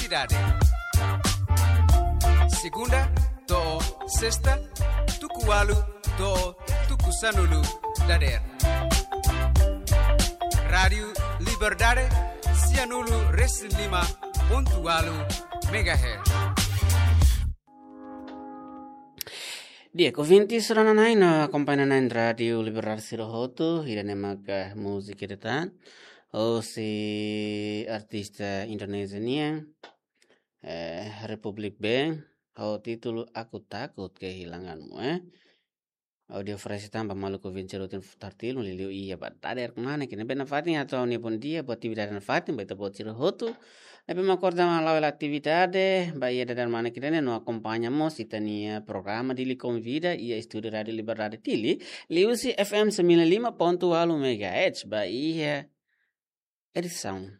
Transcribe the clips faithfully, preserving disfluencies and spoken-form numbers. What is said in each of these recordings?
Idade. Segunda to'o sesta, tuku ualu to'o tuku sanulu dadeer. Rádiu Liberdade, sianulu resin lima pontu ualu megahertz. Di'ak, ouvinte sira-na'in no akompaña na'in Rádiu Liberdade sira hotu, ida-ne'e maka múzika ida tan, hosi artista Indonézia nian, eh, Republik Band, ho títulu Aku Takut Kehilanganmu, eh. Ha'u oferese tan ba maluk ouvinte sira hotu, futar tilu liuliu iha ba dadeer kmanek ne'e. Be nafatin hato'o ha'u-nia bondia ba atividade nafatin ba ita-boot sira hotu ne'ebé mak akorda ona la'o hela atividade, ba iha dadeer kmanek ne'e no akompaña mós ita-nia programa Dili Konvida iha estúdiu Rádiu Liberdade Dili, liuhusi F M sembilan lima pontu ualu megahertz, ba iha edisaun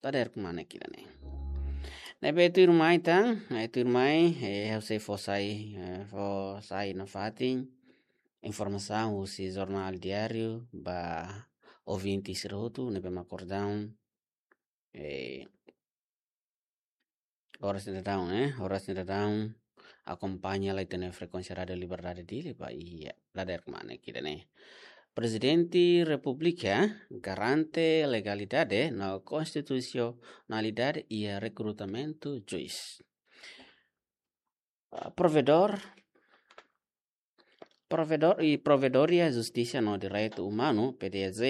dadeer kmanek ida-ne'e. Ne'ebé tuirmai tan, eh, tuirmai, eh, ha'u sei fó sai, eh, fó sai nafatin informasaun husi Jornál Diáriu ba ouvinte sira hotu ne'ebé mak akorda ona, eh, oras ne'e daudaun, eh, oras ne'e daudaun akompaña lai ita-nia frekuénsia Rádiu Liberdade Dili ba iha dadeer kmanek ida-ne'e. Prezidente Repúblika garante legalidade no konstitusionalidade iha rekrutamentu juís. Ah, provedór, provedór i Provedoria Justisa no Direitu Umanu, P D J,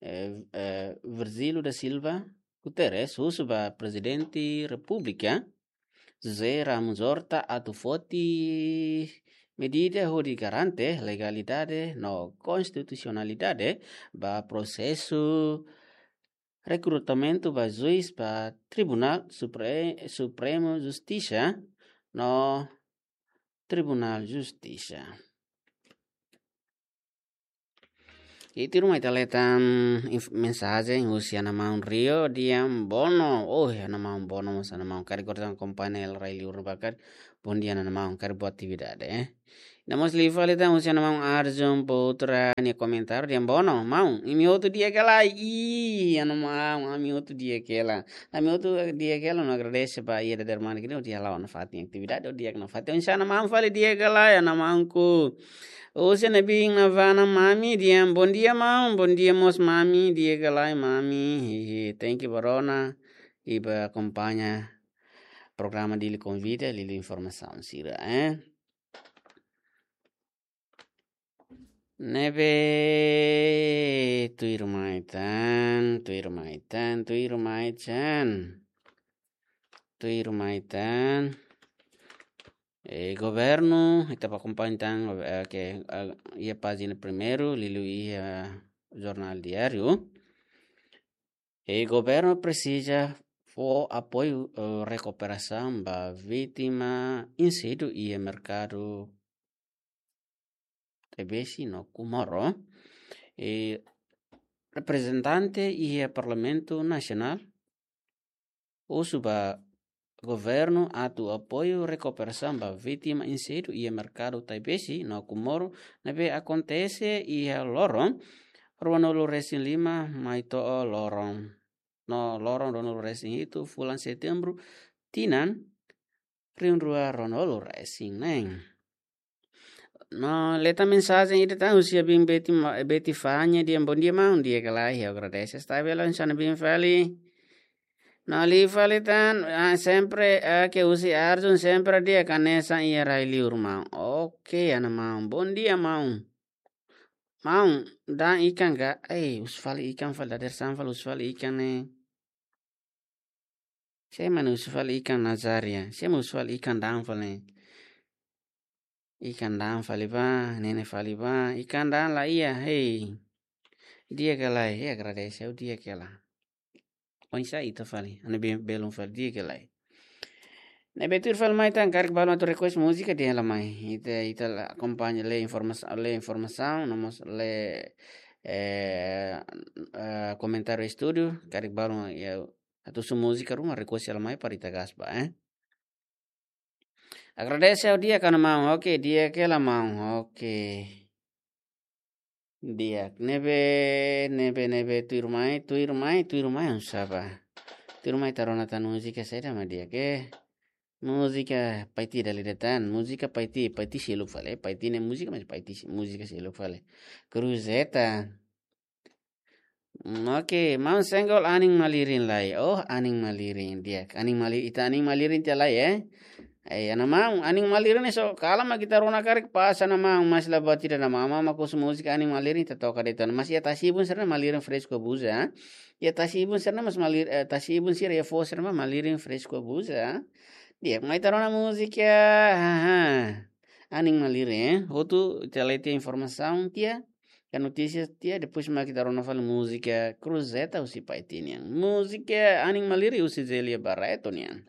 eh, eh, Virgílio da Silva Guterres, husu ba Prezidente Repúblika, José Ramos Horta, atu foti medida hodi garante legalidade no konstitusionalidade ba prosesu rekrutamentu ba juís ba Tribunál Supre-, Supremu Justisa no Tribunál Justisa. I tuirmai ita hetan inf-, mensajen husi ana maun Rio Diambono. Oh, ana maun Bono mós, ana maun karik akompaña hela rai-liur bakat. Bondia, ana maun, karik boa atividade, eh. Ita mós liu fali tan husi ana maun Arjun Putra nia komentáriu, Diambono: "Maun, imi hotu di'ak ka lae?" Ih, ana maun, ami hotu di'ak hela. Ami hotu di'ak hela, no agradese ba iha dadeer kmanek ne'e, hodi hala'o nafatin atividade, hodi di'ak nafatin. Oinsá, ana maun, fali di'ak ka lae, ana maunku? Husi ne'ebé navana mami, Diam, bondia maun, bondia mós mami, di'ak ka lae mami. Hihi, thank you ba rona, i ba akompaña programa Dili Konvida, liuliu informasaun sira, eh. Ne'ebé tuirmai tan, tuirmai tan, tuirmai tan. Tuirmai tan. Eh, governu, ita bá akompaña tan, eh, ke, eh, iha pájina primeiru, liuliu iha Jornál Diáriu. Eh, governu presiza fó apoiu, eh, rekuperasaun ba vítima inséndiu iha merkadu Taibesi no Comoro. Eh, reprezentante iha Parlamentu Nasionál husu ba governu atu apoiu rekuperasaun ba vítima inséndiu iha merkadu Taibesi no Comoro ne'ebé akontese iha loron ruanulu resin lima mai to'o loron, no loron ruanulu resin hitu fulan Setembru tinan rihun rua ruanulu resin neen. No, hetan mensajen ida tan husi abin Beti Ma-, Beti Fanya, Diam, bondia maun, di'ak ka lae, ha'u agradese. Esta bela insana bin fali. No, liu fali tan, ah, sempre, ah, ke husi Arjun, sempre di'ak hanesan iha rai-liur maun. Oke, ana maun, bondia maun. Maun, da'an ikan ka? Eh, husu fali ikan fali, dadeer-saan fali husu fali ikan ne'e. Sé mak husu fali ikan, Nazaria? Sé mak husu fali ikan, da'an fali? Ikan da'an fali bá, nene fali bá, ikan da'an la iha, hei. Di'ak ka lae, hei, agradese, ha'u di'ak hela. Oinsá ita fali, ane be-, belun fali, di'ak ka lae. Ne'ebé tuir fali mai tan, karik balu atu request múzika, dehan lai mai. Ita, ita la akompaña, lee informas-, lee informasaun, no mós lee, eh, eh, komentáriu estúdiu, karik balu, ya, atu husu múzika ruma, request lai mai para ita gás bá, eh. Agradese, ha'u di'ak ka lae maun? Oke, di'ak hela maun. Oke. Di'ak. Ne'ebé, ne'ebé, ne'ebé tuirmai, tuirmai, tuirmai, oinsá bá? Tuirmai ita rona tan múzika saida mak di'ak. Múzika Paiti dala ida tan, múzika Paiti, Paiti seluk fali, Paiti ne'e múzika, mas Paiti, múzika seluk fali. Cruzeta. Hmm, oke, maun Senggol anin malirin lai. Oh, anin malirin di'ak. Anin mali-, ita anin malirin tiha lai, eh. Eh, iha ne'e maun, anin malirin ne'e só kala mak ita rona karik pasa ne'e maun, mas la buat ida ne'e maun, maun mak husu múzika anin malirin ita toka de'it ona. Mas iha tasi-ibun sira-ne'e malirin fresku buza. Iha tasi-ibun sira-ne'e mas malir-, eh, tasi-ibun sira iha foho sira-ne'e malirin fresku buza. Di'ak, mai ita rona múzika, haha. Anin malirin, eh. Hotu ita lai tiha informasaun tiha, ka notísias tiha, depois mak ita rona fali múzika Cruzeta husi Paiti nian. Múzika anin malirin husi Zélia Barreto nian.